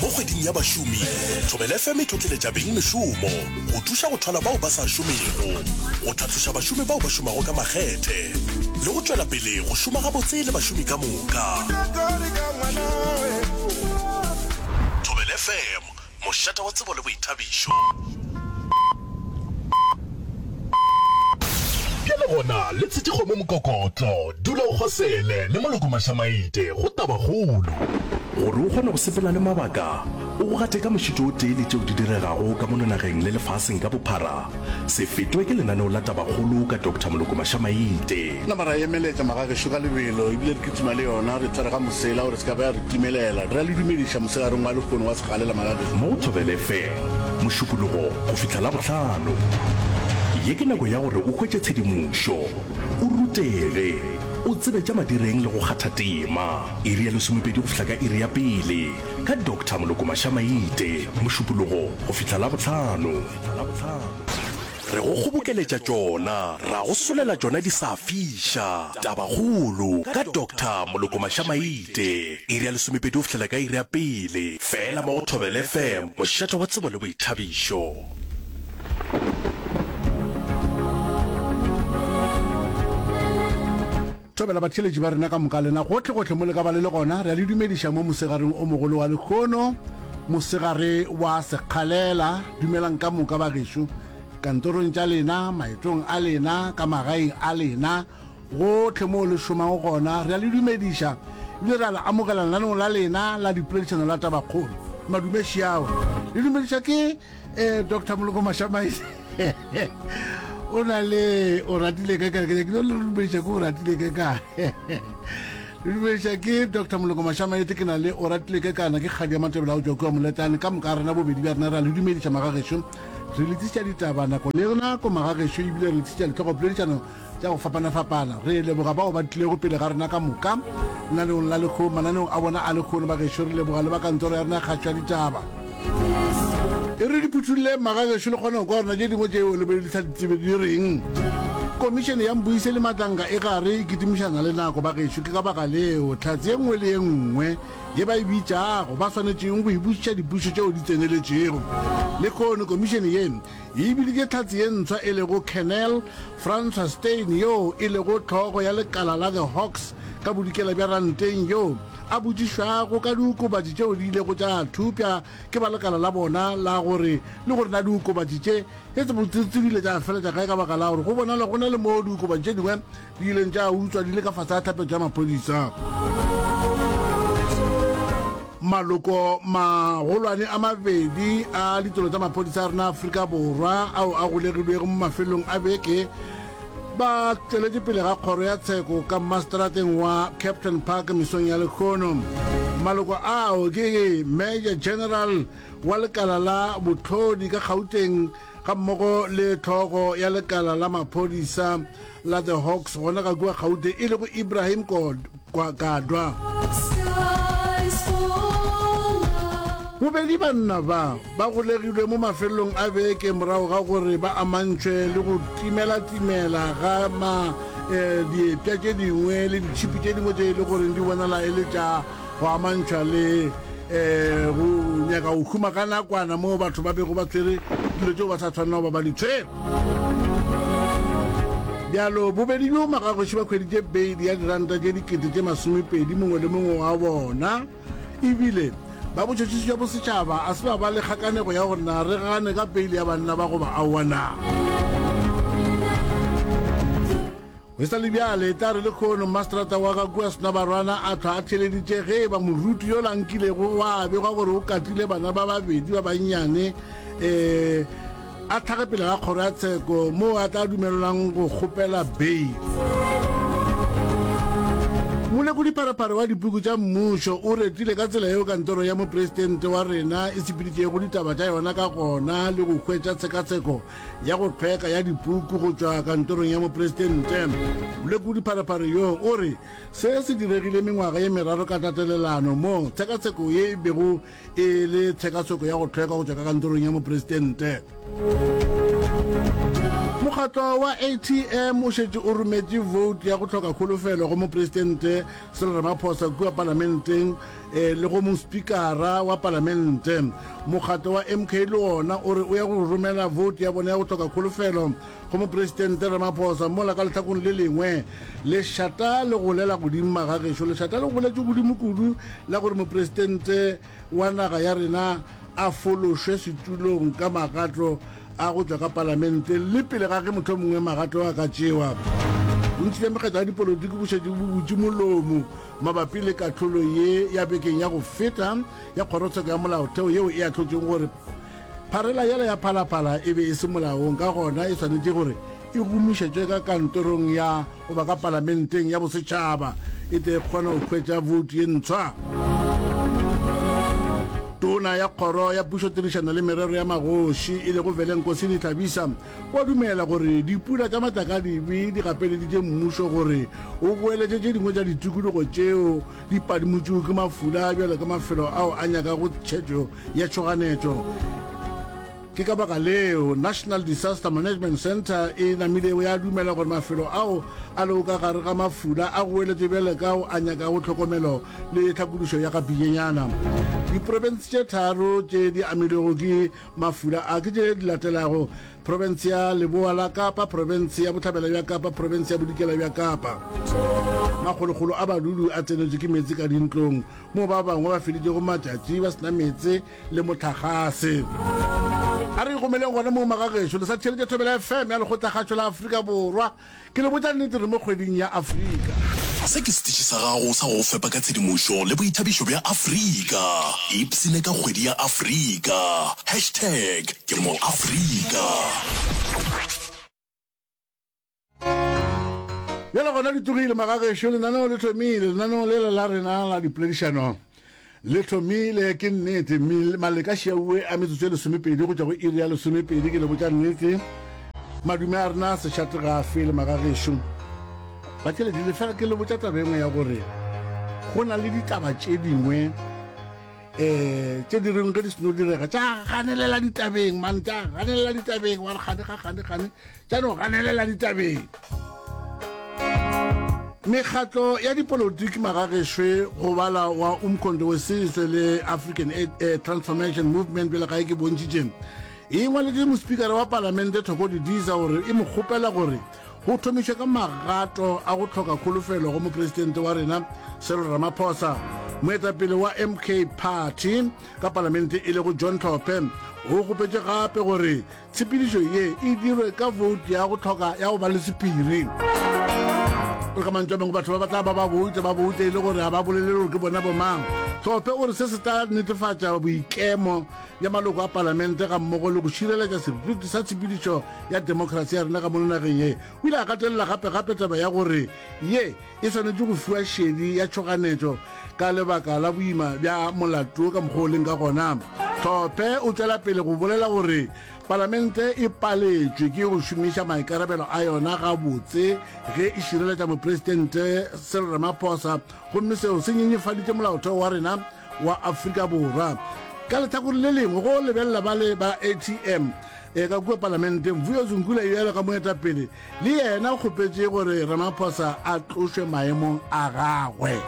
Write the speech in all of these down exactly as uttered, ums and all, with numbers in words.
Mo kgweding ya bašomi, Thobela F M e tlotleletša beng mešomo, go thuša go thwala bao ba sa šomego, go tlhatloša bašomi bao ba šomago ka makgethe, le go tšwela pele go šoma gabotse le bašomi ka moka. Thobela F M, mošate wa tsebo le boithabišo. Bjale gona le tshetše kgomo mokokotlo, dula o kgosele le moloko mašamaite go tabakgolo. Gore o kgone go sepela le mabaka, o go gate ka mošito o tee le tšeo di diregago ka mono nageng le lefaseng ka bophara, se fetwe ke lenaneo la Tabakgolo ka Doctor Moloko Mašamaite. Nama ra emeletša magagešo ka lebelo ebile re kitima le yona, re tshwere ga mosela gore se ka ba ya re timelela. Re a le dumediša mosegareng wa lehono wa sekgalela magagešo. Mo go Thobela F M, Mošupologo go fihla Labohlano. Ye ke nako ya gore o hwetše tshedimošo, o rutege, o tsebe tša madireng le go kgatha tema. Iri ya lesomepedi go fihla ka iri ya pele, ka Doctor Moloko Mašamaite, Mošupologo go fihla Labohlano. Re go kgobokeletša tšona, ra go solela tšona di sa fiša. Tabakgolo ka Doctor Moloko Mašamaite, iri ya lesomepedi go fihlela ka iri ya pele, feela mo go Thobela F M, mošate wa tsebo le boithabišo. Thobela batheeletši ba rena ka moka lena gohle-gohle mo le ka ba le le gona, re a le dumediša mo mosegareng o mogolo wa lehono, mosegare wa sekgalela. Dumelang ka moka ba gešo, kantorong tša lena, maetong a lena, ka magaeng a lena, gohle moo le šomago gona, re a le dumediša ebile re a le amogela lenaneong la lena la dipoledišano la Tabakgolo. Madume šiao. Le dumediša ke eh, Doctor Moloko Mašamaile. O na le o ratile ka kae? Ke no le dumediša ke o ratile ka kae? Le dumediša ke Doctor Moloko Mašamaite, ke na le o ratile ka kana ke kgadi ya Matebele a o tšwa kua Moletane. Ka moka rena bobedi bja rena re a le dumediša magagešo. Re le tliša ditaba nako le nako magagešo, ebile re le tliša ditlhogopoledišano tša go fapana-fapana. Re leboga bao ba tlilego pele ga rena ka moka lenaneong la lekgono, mananeong a bona a lekgono bagešo. Re leboga le ba kantoro ya rena ya kgašo ya ditaba. E re di phuthulle magagešo le kgone go kwa rena tše dingwe tšeo le be le sa di tsebe di reng. Komišene ya Mbuise le Matlanka e gare e kitimišana le nako bagešo, ke ka baka leo hlatse ye nngwe le ye nngwe ye ba e bitšago ba swanetšeng go e botšiša dipušo tšeo di tseneletšego. Lehono komišene ye e biditše hlatse ye ntshwa e lego Colonel Francois Steyn, yoo e lego hlogo ya lekala la The Hawks ka bodikela bja Ranteng, yoo a botšišwago ka diokobatši tšeo di ilego tša thupša ke ba lekala la bona la gore le gore na diokobatši tše e tse di ile tša feletša kae, ka baka la gore go bonala go na le moo diokobatši tše dingwe di ileng tša utswa di le ka fase ga tlhapetšo ya maphodisa. Maloko magolwane a mabedi a ditolo tša maphodisa a rena Afrika Borwa ao a golegilwego mo mafelong a beke ba tšweletše pele ga kgoro ya tsheko ka mastrateng wa Captain Park mesong ya lehono. Maloko ao ke Major General wa lekala la botlhodi ka Gauteng ga mmogo le tlhogo ya lekala la maphodisa la The Hawks gona ka kua Gauteng e lego Ibrahim Kadwa. Bobedi banna ba ba golegilwe mo mafelong a beke morago ga gore ba amantšhwe le go timela-timela ga ma eh, diepša tše dingwe le ditšhipi tše dingwe tše e le goreng di bonala e le tša go amantšhwa le eh, go nyaka go huma ka nakwana moo batho ba bego ba tshwere dilo tšeo ba sa tshwanela go ba ba di tshwere. Bjalo bobedi bjo magagoši ba hweditše beili ya diranta tše dikete tše masomepedi mongwe le mongwe wa bona, ebile ba botšhotšhisi bja bosetšhaba a se ba ba le kgakanego ya gore na re gane ka peile ya banna ba goba aowa na. Go sa le bjale, e tla re lekgono mastrata wa ka kua Senabarwana a hlwa a theeleditše ge e ba moruti yola nkilego wa begwa gore o katile bana ba babedi ba bannyane um a tlhage pele ga kgoro ya tsheko moo a tla dumelelwang go kgopela beile. Molekodi-pharephare wa dipuku tša mmušo o retile ka tsela yeo kantoro ya mopresidente wa rena e sepeditšego ditaba tša yona ka gona le go hwetša tshekatsheko ya go hlweka ya dipuku go tšwa kantorong ya mopresidente. Molekodi-pharephare yo o re se se diregile mengwaga ye meraro ka tatelelano moo tshekatsheko ye e bego e le tshekatsheko ya go hlweka go tšwa ka kantorong ya mopresidente. Mokgatlo Mokgatlo wa A T M o šetše o rometše vote ya go hloka kholofelo go Mopresidente Cyril Ramaphosa kua Palamenteng le go Mospikara wa Palamente. Mokgatlo wa M K le wona o re o ya go romela vote ya bona ya go hloka kholofelo go Mopresidente Ramaphosa, mola ka lehlakong le lengwe lešata le golela godimo magagešo. Lešata le goletše godimo kudu la gore Mopresidente wa naga ya rena a fološwe setulong ka magato a go tšwa ka palamenteng le pele ga ge mohlomongwe magato a ka tšewa. Bontši bja mekgatlo ya dipolotiki bo šetše bo butše molomo mabapi le kahlolo ye ya bekeng ya go feta ya kgorotsheko ya molaotheo yeo e ahlotšego gore pharela yela ya Phalaphala e be e se molaong, ka gona e swanetše gore e gomišetšwe ka kantorong ya goba ka palamenteng ya bosetšhaba e tle e kgone go hwetša voutu ye ntshwa. Tona ya Kgoro ya Pušotirišano le Merero ya Magoši e lego Velenkosini Hlabisa o a dumela gore dipula tša matlakadibe di gapeleditše mmušo gore o boeletše tše dingwe tša ditikologo tšeo di padimotšwego ke mafula bjalo ka mafelo ao a nyakago tšhetšo ya tšhoganetšo. Ke ka baka leo National Disaster Management Centre e namilego ya dumela gore mafelo ao a lego ka gare ga mafula a goeletše bjale ka ao a nyakago tlhokomelo le tlhakodišo ya gapijenyana. Diprofense tše tharo tše di amilwego ke mafula a ke tše di latelago, Profense ya Leboa la Kapa, Profense ya Bohlabela bja Kapa, Profense ya Bodikela bja Kapa. Makgolokgolo a badudi a tsenetšwe ke meetse ka dintlong, moo ba bangwe ba feditšego matšatši ba se na meetse le mohlagase. A re ikomeleng gona moo magagešo, le sa theeletša Thobela F M ya Lekgotlakgašo la Afrika Borwa. Ke le botša nnete, re mo kgweding ya Afrika. Se ke setiši sa gago sa go go fepa ka tshedimošo le boithabišo bja Afrika. Ipshine ka kgwedi ya Afrika. Hashtag ke mo Afrika. Bjale gona di tlogile magagešo, lenaneo le thomile, lenaneo lela la rena la dipoledišano le thomile. Ke nnete, maleka šiauwe a metsotso e lesomepedi go tšwa go iri ya lesomepedi. Ke le botša nnete, madume a rena sešate ga a fele magagešo. Batheeletši, le fela ke le botša taba engwe ya gore go na le ditaba tše dingwe um tše di reng ge di seno direga tša ganelela ditabeng, man, tša ganelela ditabeng, wa re gane ga gane gane, tša no ganelela ditabeng. Mekgatlo ya dipolotiki magagešwe go bala wa Umkhonto we Sizwe le African eh, Transformation Movement bjale ga e ke bontšitše e ngwaletše mospikara wa palamente Thoko Didiza gore e mo kgopela gore go thomišwe ka magato a go hloka kholofelo go mopresidente wa rena Cyril Ramaphosa. Moetapele wa M K Party ka palamente e lego John Hlophe o kgopetše gape gore tshepedišo ye e dirwe ka vote ya go hloka ya go ba le sephiri. Re ka mantšu a mangwe batho ba ba tla ba ba bouta ba bouta e le gore ga ba bolele gore ke bona bomang. Hlophe o re se se tla netefatša boikemo bja maloko a palamente ga mmogo le go šireletša seriti sa tshepedišo ya demokrasi ya rena ka mono nageng ye. O ile a gatelela gape gape taba ya gore ye e swanetše go fiwa šedi ya tšhoganetšo ka lebaka la boima bja molato ka mokgwa o leng ka gona. Hlophe o tšwela pele go bolela gore palamente e paletšwe ke go šomiša maikarabelo a yona gabotse ge e šireletša mopresidente Cyril Ramaphosa, gomme seo se nyenyefaditše molaotheo wa rena wa Afrika Borwa. Ka lehlakore le lengwe, go lebelela ba le ba A T M e ka kua palamenteng, Vuyo Zungula bjalo ka moetapele le yena o kgopetše gore Ramaphosa a tlošwe maemong a gagwe.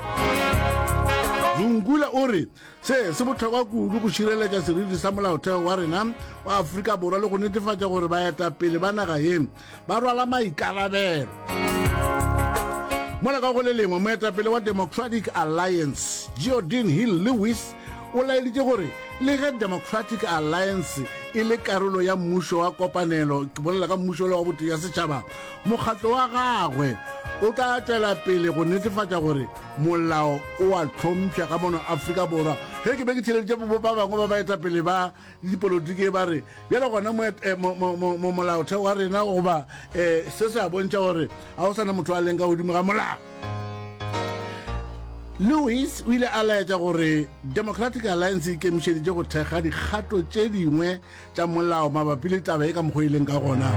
Zungula o re se se bohlokwa kudu go šireletša seriti sa molaotheo wa rena wa Afrika Borwa le go netefatša gore baetapele ba naga ye ba rwala maikarabelo. Mola ka go le lengwe, moetapele wa Democratic Alliance Geordin Hill-Lewis o laeditše gore le ge Democratic Alliance e le karolo ya mmušo wa kopanelo, ke bolela ka mmušo wa botee ya setšhaba, mokgatlo wa gagwe o tla tšwela pele go netefatša gore molao o a hlompšha ka mono Afrika Borwa. Ge ke be ke theeleditše ba bangwe ba baetapele ba dipolotiki ba re bjale gona mo molaotheo wa rena goba se se a bontšha gore ga o sana motho a leng ka godimo ga molao. Lewis o ile a laetša gore Democratic Alliance e ikemišeditše go thekga dikgato tše dingwe tša molao mabapi le taba e ka mokgwa e leng ka gona.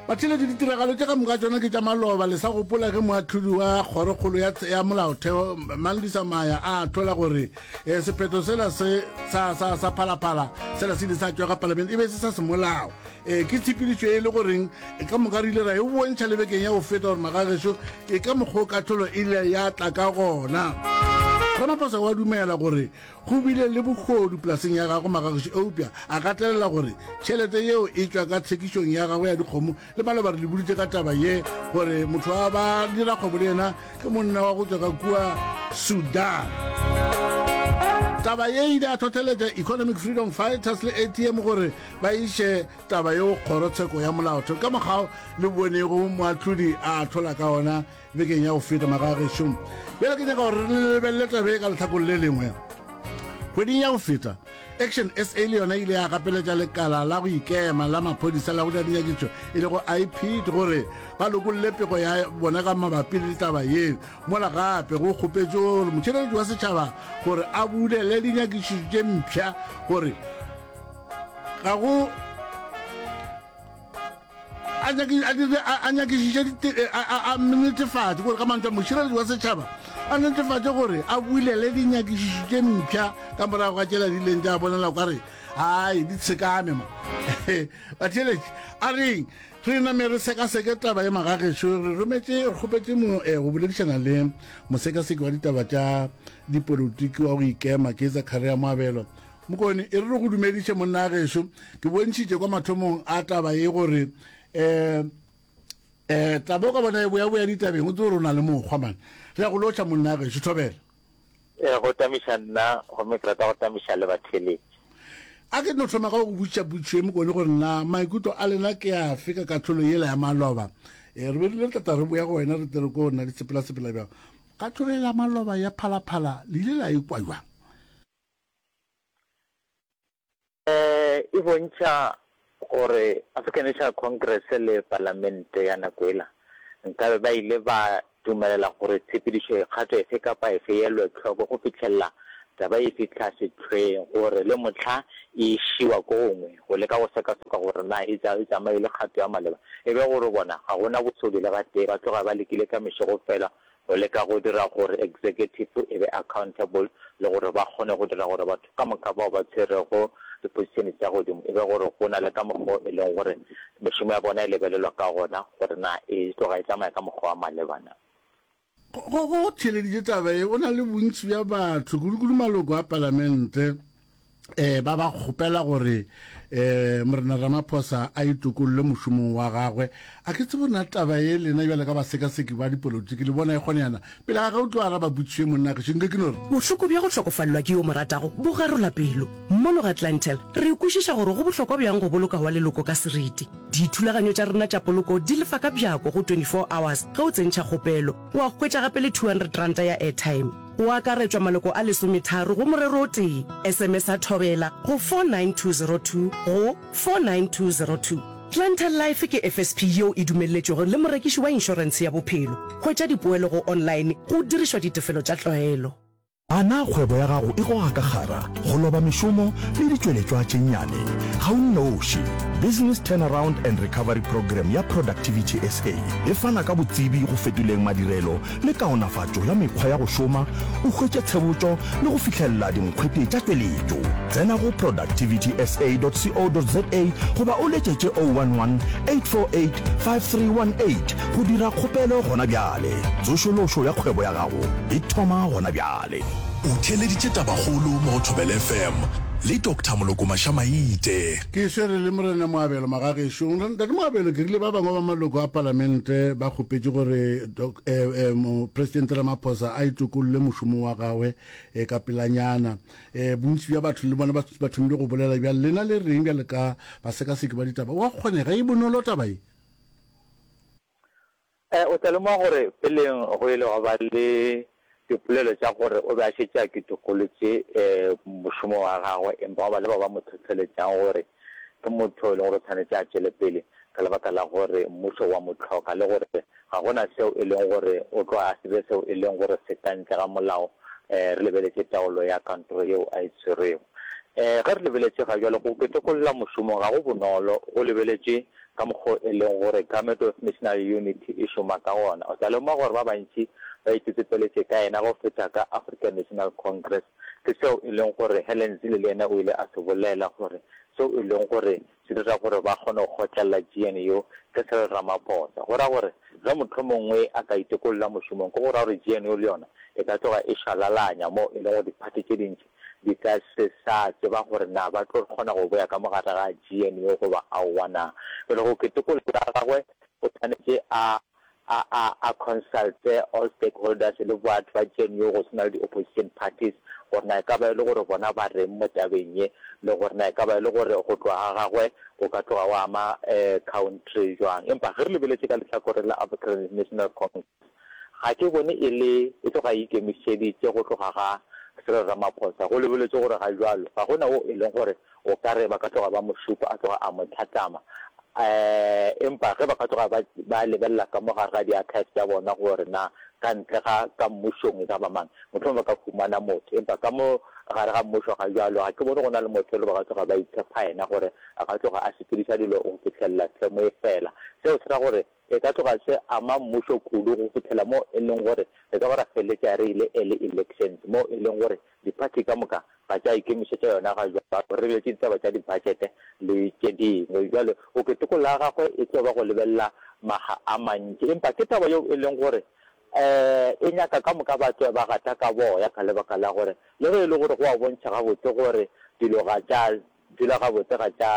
Batheeletši, ditiragalo tše ka moka tšona ke tša maloba. Le sa gopola ge moahlodi wa Kgorokgolo ya, ya Molaotheo, Mandisa Maya, a ahlola gore eh, sephetho sela se sa, sa, sa Phalaphala sela se ile sa tšwa ka Palamente e be se sa semolao. Eh, ke tshepedišo e le goreng eh, ka moka re ile ra e bontšha le bekeng ya go feta gore magagešo e ka mokgwa o kahlolo e ile ya tla ka gona. Ramaphosa wa dumela gore go bile le bohodu polaseng ya gagwe magagešo, eupša a gatelela gore tšhelete yeo e tšwa ka tshekišong ya gagwe ya dikgomo. Le maloba re le boditše ka taba ye gore motho wa ba dira kgwebo le yena ke monna wa go tšwa ka kua Sudan. Taba ye e ile ya hlohleletša Economic Freedom Fighters le A T M gore ba iše taba yeo kgorotsheko ya molaotheo ka mokgwa le bonego moahlodi a ahlola ka ona bekeng ya go feta magagešo. Bjale ke nyaka gore re lebelele taba e ka lehlakong le lengwe. Kgweding ya go feta, Action S A le yona ile ya gapeletša lekala la go ikema la maphodisa la go dira dinyakišišo e lego I P D gore ba lokolle pego ya bona ka mabapi le taba ye. Mola gape go kgopetšwe gore motšheletši wa setšhaba gore a bulele dinyakišišo tše mpsha gore ga go a nyaki, a dire, a, a nyakišiše dite, a, a, a netefatše gore ka mantšu a mošireletši wa setšhaba a netefatše gore a bulele dinyakišišo tše mpsha ka morago ga tšela di ileng tša bonala o ka re ai di tshekame ma. Batheeletši, a reng re name re sekaseke taba ye magagešo. Re rometše, re kgopetše mo, eh, go boledišana le mosekaseki wa ditaba tša dipolotiki wa go ikema ke Zakaria Moabelo. Mokone, e re re go dumediše monna gešo. Ke bontšhitše kwa mathomong a taba ye gore um um taba o ka bona e boya boya ditabeng, o tsebe gore o na le mokgwa man. Re ya go lotšha monna gešo, thobela. E go tamiša nna, gomme ke rata go tamiša le batheeletši. A ke no thoma ka go botšiša potšišo ye Mokone gore na maikutlo a lena ke afe ka kahlolo yela ya maloba. E, re be re ile re tla re boya go wena re tle re ko nna di sepela-sepela bjang. Kahlolo yela ya maloba ya Phalaphala le ile la ikwa bjang? E bontšha gore African National Congress le Palamente ya nako yela nkabe ba ile ba dumelela gore tshepedišo kgato efe kapa efe e elwe hloko go fihlelela taba e fihla sehlweng gore le mohla e išiwa ko gongwe go leka go sekaseka gore na e tsamaile kgato ya maleba e be gore bona ga go na bosodi le gatee ba tloga ba lekile ka mešego fela go leka go dira gore executive e be accountable le gore ba kgone go dira gore batho ka moka bao ba tshwerego diposišene tša godimo e be gore go na le ka mokgwa e leng gore mešomo ya bona e lebelelwa ka gona gore na e tloga e tsamaya ka mokgwa wa maleba na. Go go theeleditše taba ye, o na le bontši bja batho, kudu-kudu maloko a palamente, eh, ba ba kgopela gore eh, Morena Ramaphosa a itokolle mošomong wa gagwe. A ke tsebe na taba ye lena bjale ka basekaseki ba dipolotiki le bona e kgoneyana. Pele ga ge o tlo araba potšišo ye monna gešo, nke ke no re. Bohloko bja go hlokofalelwa ke yo mo ratago bo garola pelo. Mono ga Clientele, re kwešiša gore go bohlokwa bjang go boloka wa leloko ka seriti. Dithulaganyo tša rena tša poloko di lefa ka bjako go twenty-four hours ge o tsentšha kgopelo, wa hwetša gape le two hundred ranta ya airtime. Go akaretšwa maloko a lesometharo go morero o tee. S M S a Thobela go four nine two zero two go four nine two zero two. Clientele Life ke F S P yeo e dumelletšwego le morekiši wa inšorentshe ya bophelo. Hwetša dipoelo go online go dirišwa ditefelo tša tlwaelo. A na kgwebo ya gago e goga ka kgara, go loba mešomo le ditšweletšwa tše nnyane? Ga o nnoši. Business Turnaround and Recovery Programme ya Productivity S A e fana ka botsebi go fetoleng madirelo le kaonafatšo ya mekgwa ya go šoma, o hwetše tshebotšo le go fihlelela dinkgwete tša tšweletšo. Tsena go productivity S A dot co dot za goba o letšetše oh one one, eight four eight, five three one eight go dira kgopelo gona bjale. Tsošološo ya kgwebo ya gago e thoma gona bjale. O theeleditše Tabakgolo mo go Thobela F M le Doctor Moloko Mašamaite. Ke swere le Morena Moabelo Magagešo. Ntate Moabelo, ke rile ba bangwe ba maloko a palamente ba kgopetše gore doc, eh, eh, Mopresidente Ramaphosa a itokolle mošomo wa gagwe, eh, ka pelanyana. Eh, bontši bja batho le bona ba, ba thomile go bolela bjale. Lena le reng bjale ka basekaseki ba ditaba? Wa kgonega e bonolo taba ye? Eh, o tla lemoga gore peleng go ile gwa ba le dipolelo tša gore o be a šetše a ketokolotše, eh, mošomo wa gagwe, empa gwa ba le bao ba mo hlohleletšang gore ke motho e leng gore o tshwanetše a tšwele pele ka lebaka la gore mmušo wa mo hloka le gore ga gona seo e leng gore o tlo a se be seo e leng gore se ka ntle ga molao, eh, re lebeletše taolo ya kantoro yeo a e tshwerego. Eh, ge re lebeletše ga bjale go ketokolla mošomo ga go bonolo, go lebeletše ka mokgo e leng gore Government of National Unity e šoma ka gona. O tla lemoga gore ba bantši ba itsetsepeletše ka yena go feta ka African National Congress. Ke seo e leng gore Helen Zille le yena o ile a se bolela gore seo e leng gore se dira gore ba kgone go kgotlelela G N U ke Cyril Ramaphosa. Go ra gore ge mohlomongwe a ka itokolla mošomong, ke go ra gore G N U le yona e ka tloga e šwalalanya mo e leng gore diphathi tše dintši di ka se sa tseba gore na ba tlo kgona go boya ka mo gare ga G N U goba aowa na. Bjale go ketokolo ya gagwe o swanetše a a a a consulte all stakeholders le batho ba G N U go swana le di-opposition parties gore na e ka ba e le gore bona ba reng mo tabeng ye le gore na e ka ba e le gore go tloga ga gagwe go ka tloga go ama country jwang. Empa ge re lebeletše ka lehlakoreng la African National Congress ga ke bone e le e tloga e ikemišeditše go tloga ga Cyril Ramaphosa. Go lebeletšwe gore ga bjalo ga go na wo e leng gore o ka re ba ka tloga ba mo šupa a tloga a mo hlatlama. Empa ge ba ka tloga ba ba lebelela ka mo gare ga di-archives tša bona gore na ka ntle ga ka mmušong e ka ba mang, mohlomongwe ba ka humana motho. Empa ka mo gare ga mmušo ga bjalo ga ke bone go na le motho e le ba ka tloga ba itshepa yena gore a ka tloga a sepediša dilo go fihlelela term e fela. Seo se ra gore e ka tloga se ama mmušo kudu go fihlela mo e leng gore re ka ba ra feleletša re ile early elections mo e leng gore diphathi ka moka ga tša ikemišetša yona ga bjalo, re lebeletše ditaba tša dibudget le tše dingwe. Bjale go keteko la gagwe e tlo ba go lebelela maga a mantši, empa ke taba yeo e leng gore e nyaka ka moka ba tšwe ba gata ka boya ka lebaka la gore le ge e le gore go a bontšha gabotse gore dilo ga tša dula gabotse, ga tša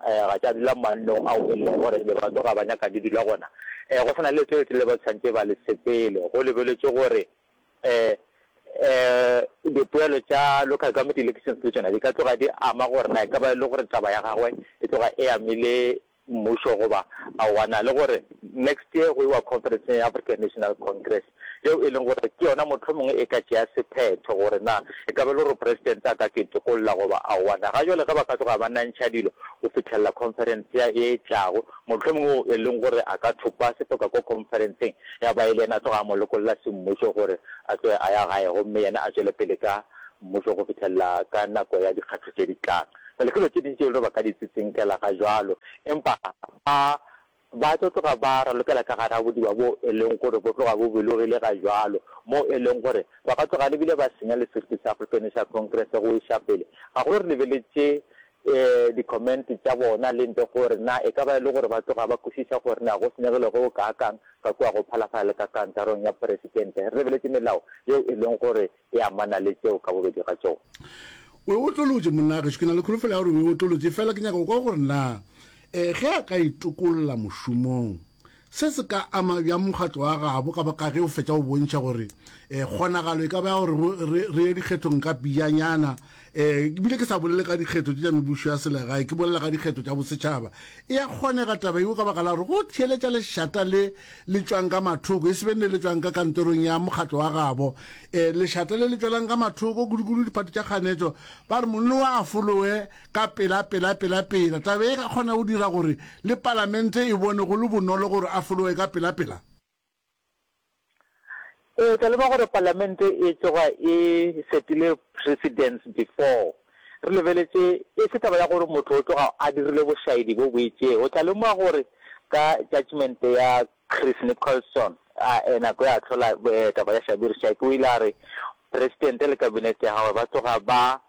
ga tša dula mannong ao e leng gore be ba tloga ba nyaka di dula gona, go sa na le leeto le letelele ba tshwanetše ba le sepele. Go lebeletšwe gore dipoelo tša local government elections le tšona di ka tloga di ama gore na e ka ba e le gore taba ya gagwe e tloga e amile mmušo goba aowa na, le gore next year go iwa conference ya African National Congress yeo e leng gore ke yona mohlomongwe e ka tšea sephetho gore na e ka ba e le gore president a ka ketokolla goba aowa na. Ga jwale ge ba ka tloga ba nantšha dilo go fihlelela conference ya e tlago, mohlomongwe o e leng gore a ka thopa sefoka ko conferenceng ya ba e le yena a tloga a mo lokolla semmušo gore a tloge a ya gae gomme yena a tšwele pele ka mmušo go fihlelela ka nako ya dikgatho tše di tlang. Bjale ke dilo tše dintši tše e le gore ba ka di tsitsinkela ga jwalo, empa ba ba tlo tloga ba ralokela ka gare ga bodiba bo e leng gore bo tloga bo bilogile ga jwalo, mo e leng gore ba ka tloga le bile ba senya le seriti sa African National Congress go iša pele. Gagolo re lebeletše di-comment tša bona le ntle gore na e ka ba e le gore ba tloga ba kwešiša gore na go senyegile go kaakang ka kua go Phalafala le ka kantorong ya Presidente. Re lebeletše melao yeo e leng gore e amana le tšeo ka bobedi ga tšona. O e otlolotše, monna gešo. Ke na le kholofelo ya gore o e otlolotše. Efela ke nyaka go kwa gore na ge a ka itokolla mošomong, se se ka ama bjang mokgatlo wa gabo ka baka ge o fetša go bontšha gore kgonagalo e ka ba ya gore re, re ye dikgethong ka pejanyana. Ebile ke sa bolele ka dikgetho tše tša mebušo ya selegae, ke bolela ka dikgetho tša bosetšhaba. E a kgonega taba yeo ka baka la gore go theeletša lešata le le tšwang ka mathoko, e se be le le tšwang ka kantorong ya mokgatlo wa gabo. Lešata le le tšwelang ka mathoko, kudu-kudu diphathi tša kganetšo, ba re monnowa a folowe ka pela, pela, pela, pela. Taba ye e ka kgona go dira gore le palamente e bone go le bonolo gore a folowe ka pela, pela. Ee, tla leboga gore palamente e tloga e setile precedence before. Re lebeletše e se taba ya gore motho o tloga a dirile bošaedi bo bo itšego. O tla lemoga gore ka judgement ya Chris Nicholson, a nako ya ahlola taba ya Shabir Shaik, o ile a re presidente le kabinete ya gagwe ba tloga ba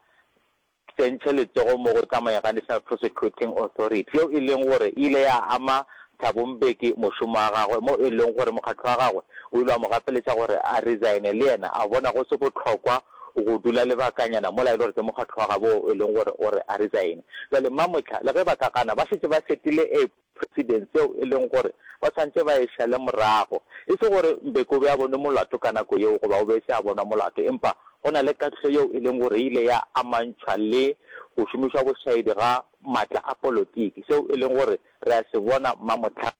tsentšhe letsogo mo go tsamayeng ga National Prosecuting Authority, yeo e leng gore e ile ya ama Thabo Mbeki mošomo wa gagwe, mo e leng gore mokgatlo wa gagwe o ile wa mo gapeletša gore a resign-e, le yena a bona go se bohlokwa go dula lebakanyana mola e le gore ke mokgatlo wa gabo wo e leng gore o re a resign-e. Bjale Mmamohla le ge ba ka gana, ba šetše ba setile a precedence yeo e leng gore ba swanetše ba e šale morago. E se gore Mbeki o be a bonwe molato ka nako yeo goba o be e se a bonwa molato, empa go na le kahlolo yeo e leng gore e ile ya amantšhwa le go šomišwa bošaedi ga matla a polotiki, seo e leng gore re a se bona mamohla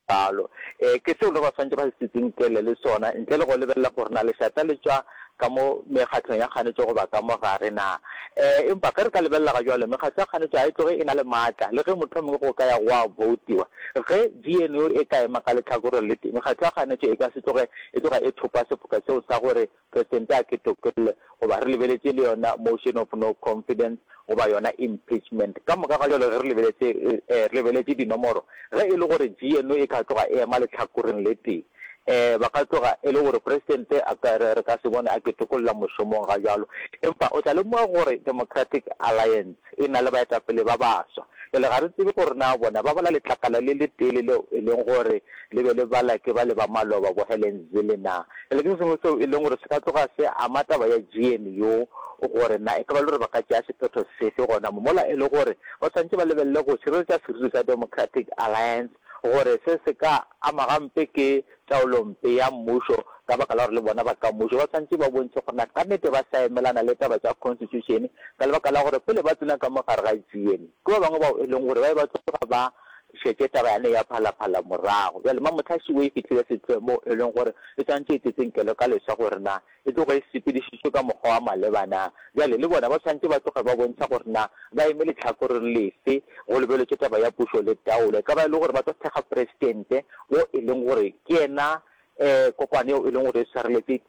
bjalo. Ee, ke seo le ba swanetše ba se tsitsinkele le sona, ntle le go lebelela gore na lešata le tšwa ka mo mekgatlong ya kganetšo goba ka mo gare na. Ee, empa ge re ka lebelela ga bjalo, mekgatlo ya kganetšo ga e tloge e na le maatla, le ge mohlomongwe go ka ya gwa boutiwa. Ge G N U e ka ema ka lehlakoreng le tee, mekgatlo ya kganetšo e ka se tloge e tloga e thopa sefoka seo sa gore Presidente a ke tokolle, goba re lebeletše le yona motion of no confidence goba yona impeachment. Ka moka ga jalo ge re lebeletše re lebeletše dinomoro, ge e le gore G N O e ka tloga e ema lehlakoreng le tee, um ba ka tloga e le gore presidente a ka re ka se bone a ketokolla mošomong ga jalo. Empa o tla lemoga gore Democratic Alliance e na le baetapele ba baswa. Bjale ga re tsebe gore na bona ba bala letlakala le le tee le leo e leng gore le be le bala ke ba le ba maloba bo Helen Zille na. Bjale ke se sengwe seo e leng gore se ka tloga se ama taba ya G N U gore na e ka ba le gore ba ka tšea sephetho sefe gona mo, mola e le gore ba swanetše ba lebelele go šireletša seriti sa Democratic Alliance gore se se ka ama gampe ke taolompe ya mmušo ka baka la gore le bona ba ka mmušo ba swanetše ba bontšhe gore na ka nnete ba sa emelana le taba tša constitution, ka lebaka la gore pele ba tsena ka mo gare ga G N U ke ba bangwe bao e leng gore ba be ba tloga ba šetše taba yane ya Phalaphala morago. Bjale Mamotlhašiwe e fihlile setlhoeng moo e leng gore e swanetše e tsetsenkelo ka leswa gore na e tloge e sepedišitšwe ka mokgwa wa maleba na. Bjale le bona ba swanetše ba tloge ba bontšha gore na ba eme lehlakoreng lefe go lebeletšwe taba ya pušo le taolo. E ka ba e le gore ba tlo thekga presidente wo e leng gore ke yena um kokwane yeo e leng gore e swareletše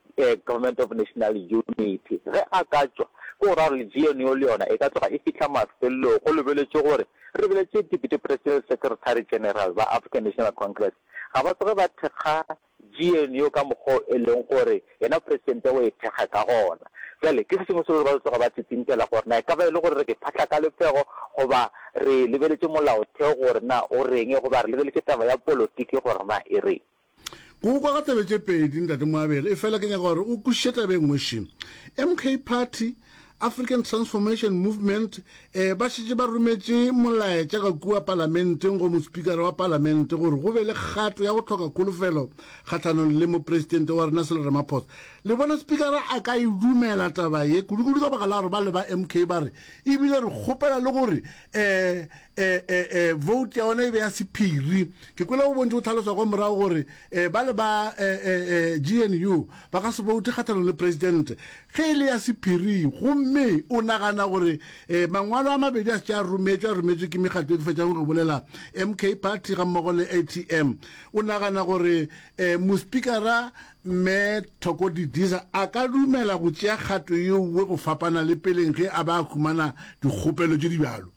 Government of National Unity. Ge a ka tšwa, ke go ra gore G N U le yona e ka tloga e fihla mafelelong go lebeletšwe gore re lebeletše Deputy President Secretary General ba African National Congress ga ba tsoge ba thekga G N U ka mokgwa e leng gore yena presidente o e thekga ka gona. Bjale ke se sengwe se gore ba tloga ba tsitsinkela gore na e ka ba e le gore re ke phahla ka lephego goba re lebeletše molaotheo gore na o reng goba re lebeletše taba ya politiki gore na e reng. Go kwa ka tsebe tše pedi, ntate Moabele, e fela ke nyaka gore o kwešiše taba e nngwe še. M K Party, African Transformation Movement, eh, ba šetše ba rometše molaetša ka kua palamenteng go mospikara wa palamente gore go be le kgato ya go hloka kholofelo kgahlanong le mopresidente wa rena Cyril Ramaphosa. Le bona spikara a ka e dumela taba ye, kudu-kudu ka baka la gore ba le ba M K ba re ebile re kgopela le gore eh, eh, eh, eh, vote ya ona e be ya sephiri. Ke kwele go bontši go tlhaloswa kwa morago gore eh, ba le ba eh, eh, eh, G N U ba ka se vote kgahlanong le president ge e le ya sephiri. Gomme o nagana gore eh, mangwalo a mabedi a šetše a rometšwe a rometšwe ke mekgatlo e ke fetšang go bolela, M K Party ga mmogo le A T M, o nagana gore eh, mospikara mme Thoko Didiza a ka dumela go tšea kgato yeowe go fapana le peleng ge a ba a humana dikgopelo tše di bjalo?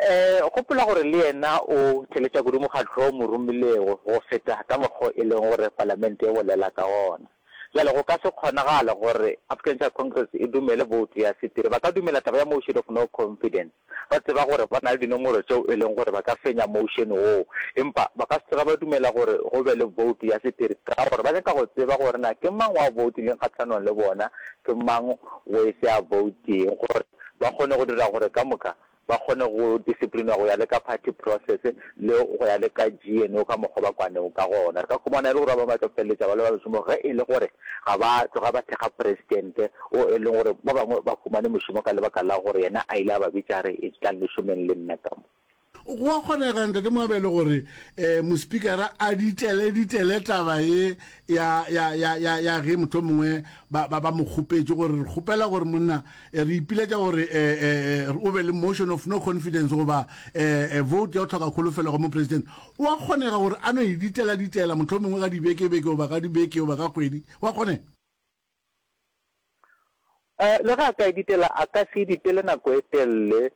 um gopola gore le yena o theletša kudu mokgatlo o mo romilego go feta ka mokgwa e leng gore palamente e bolela ka ona. Jale go ka se kgonagale gore African National Congress e dumele vote ya sephiri. Ba ka dumela taba ya motion of no confidence, ba tseba gore ba na le dinomoro tšeo e leng gore ba ka fenya motion woo, empa ba ka se tsoge ba dumela gore go be le vote ya sephiri, ka gore ba nyaka go tseba gore na ke mang wa votileng kgatlhanong le bona, ke mang o e se a voteng, gore ba kgone go dira gore ka moka ba kgone go disciplinwa go ya le ka party process le go ya le ka G N O ka mokgwa ba kwanego ka gona. Re ka khumana e le gore ba bangwe ba tlo feleletša ba le ba mešomo ge e le gore ga ba tloga ba thekga presidente o e leng gore ba bangwe ba humane mošomo ka lebaka la gore yena a ile a ba bitša re e tlang le šomeng le nna ka mo. Go a kgonega, ntate Moabele, gore um mospikara a ditele ditele taba ye ya ya ya ya ya ge motho mongwe ba ba ba mo kgopetše gore re kgopela gore monna eh, re ipiletša gore eh, eh, o be le motion of no confidence goba eh, vote ya go tlhoka kholofelo go mopresident, o a kgonega gore a no e ditela ditela motho mongwe ka dibeke-beke goba ka dibeke goba ka kgwedi? Wa kgonega? um le ge a ka e ditela, a ka se e ditele nako e telele,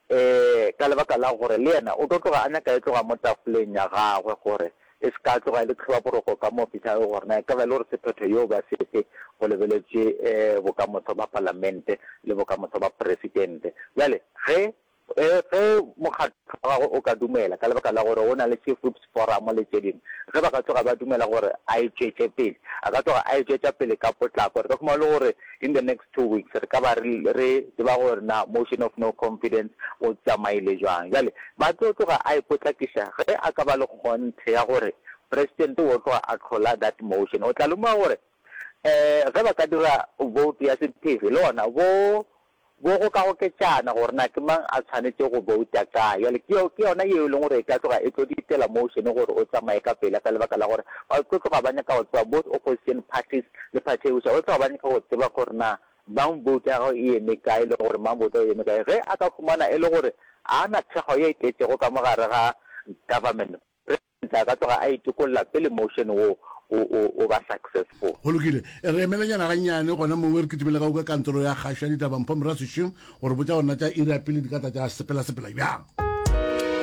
um ka lebaka la gore le yena o tlo tloga a nyaka e tloga mo tafoleng ya gagwe gore e se ka tloga e le tlhobaboroko ka mo ofisi ya gagwe, gore na e ka ba e le gore sephetho yeo ba sefe go lebeletše um bokamoso ba palamente le bokamoso ba presidente. Bjale ge ge mokgatlo wa gagwe o ka dumela, ka lebaka la gore o na le Chief Whips Forum le tše dingwe, ge ba ka tloga ba dumela gore a e tšwetše pele, a ka tloga a e tšwetša pele ka potlako. Re ka khumana le gore in the next two weeks re ka ba re re tseba gore na motion of no confidence o tsamaile jwang. Jale ba tlo tloga a e potlakiša ge a ka ba le kgonthe ya gore president o tloga a tlhola that motion. O tla lemoga gore um ge ba ka dira vote ya sephiri, le gona bo bo go ka goketšana gore na ke mang a tshwanetse go vouta kae. Jale ke ke yona yeo e leng gore e ka tloga e tlo ditela motion gore o tsamaye ka pele, ka lebaka la gore ba tlo tloga ba nyaka go tseba, both opposition parties le party e buša ba tloga ba nyaka go tseba gore na mang vote ya gagwe e eme kae le gore mang vote ya e eme kae. Ge a ka khumana e le gore a na thekgo ye e tletšego ka mogare ga government, president a ka tloga a itokolla pele motion wo o, o, o ba successful. Go lokile. Re emelenyana gannyane gona mowe re kitimele ka go ka kantoro ya kgašo ya ditaba Mpho Moraswiši go re botša gore na tša iri ya pele di ka tla tša sepela-sepela bjang.